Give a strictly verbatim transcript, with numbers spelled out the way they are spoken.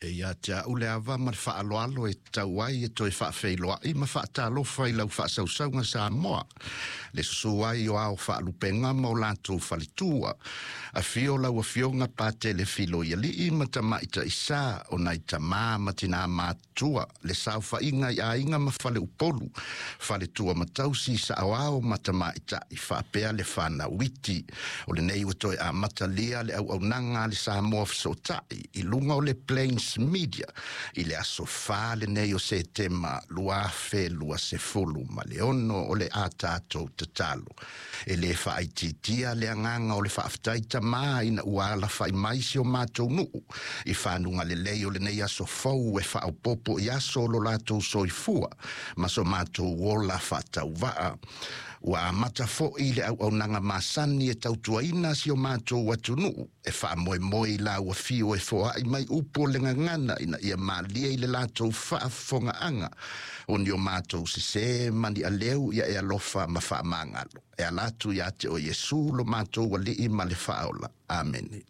E ia te au le ava ma le faaaloalo e tau ai e toe faafeiloai ma faatalofa i lau faasausauga Samoa. Le susu ai o ao faalupega ma o latou faletua. Afio lau afioga Patele Filoialii ma Tamaitaisa o nai tamā ma tinā matua le saofaiga i aiga ma faleupolu, faletua ma tausi saoao ma tamaitai faapea le fanau iti. O lenei ua toe amatalia le auaunaga a le Samoa Fesootai i luga o le Plains Media i le aso fa lenei o Setema lua afe lua sefulu ma le ono. O le a tatou tatalo e le faaitiitia le agaga o le faafetai tamā ina ua alafai mai si o matou nuu i fanuga lelei o lenei aso fou e faaopopo i aso o lo latou soifua ma so matou ola faatauvaa. Ua amata foʻi le auaunaga masani e tautuaina si o matou atunuu e faamoemoe i lau afio e foai mai upu o le gagana ina ia malie i le latou faafofogaaga o ni o matou sesē ma ni aleu ia e alofa ma faamagalo e ala atu iā te o Iesu lo matou Alii ma le Faaola. Amene.